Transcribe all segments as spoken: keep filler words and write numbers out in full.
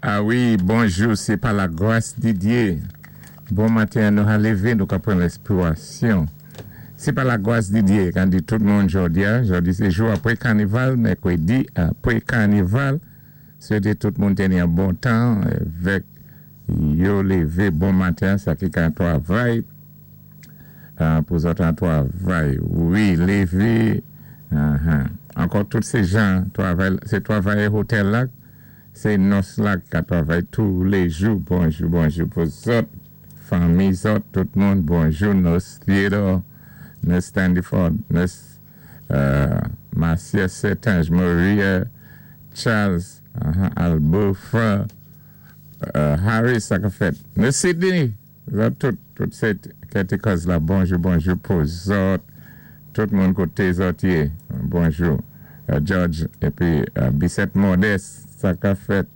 Ah wi, bonjou, sé pa lagwas di Dye. Bon maten, nou ka lévé, nou ka pran lespirasyon. Sé pa lagwas di Dye, kan di tout moun jòdi-a, jòdi sé jou apwé kanival, mèkwédi apwé kanival, swété tout moun té ni an bon tan, vèk yo lévé bon maten, sa ki ka twavay, pou zòt an twavay. Wi, lévé, ankò tout sé jan, twavay, sé twavayè hotèl la, sé nòs la ka twavay tou lé jou. Bonjou, bonjou pou zòt, fanmi zòt, tout moun, bonjou, Nòs Theodore, Nòs Standiford, Nòs Marcia Setange, Maria Charles, Albofa, Harris, sa ka fèt. Nòs Sydney, zòt tout, tout sé kèti kòz la, bonjou, bonjou pou zòt, tout moun koté zòt yé, bonjou. George, épi Bissette Modeste, sa ka fèt.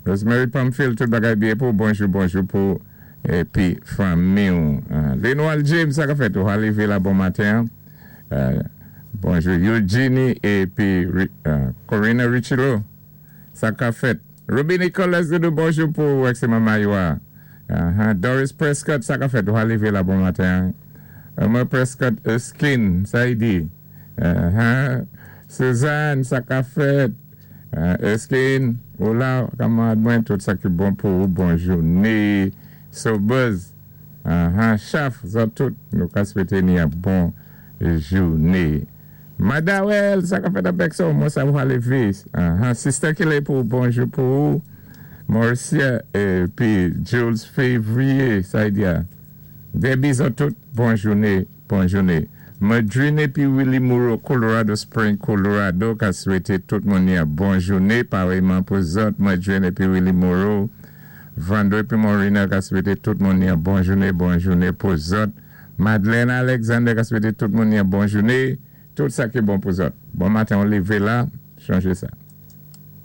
Rosemary Pamphile, tout bagay byen pou, bonjou, bonjou pou, épi fanmi ou. Lenoir James, sa ka fèt, ou arivé la bon maten. Bonjou Eugenie, épi Corina Richilo, sa ka fèt. Ruby Nicholas, bonjou pou, ek sé mama yo. Doris Prescott, sa ka fèt, ou arivé la bon maten. Emma Prescott Erskine, sa y di. Suzanne, sa ka fèt. Erskine, hola, kamarad mwen, tout sa ki bon pou ou, bonjou. Né, Sobuz, Chaf, zòt tout, nou ka swété ni an bon jouné. Madawel, sa ka fèt avèk sa, mwen sa ou lévé. Sister Kile pou bonjou pou ou. Mauricia, épi Jules Février, sa y di a. Debbie, zòt tout, bon jouné, bon jouné. Madrine épi Willie Moreau, Colorado Spring, Colorado, ka swété tout moun ni an bon jouné, parèyman pou zòt, Madrine épi Willie Moreau, Vandre épi Morina ka swété tout moun ni an bon jouné, bon jouné pou zòt. Madeleine Alexander ka swété tout moun ni an bon jouné, tout sa ki bon pou zòt. Bon maten, on lévé la, chanjé sa.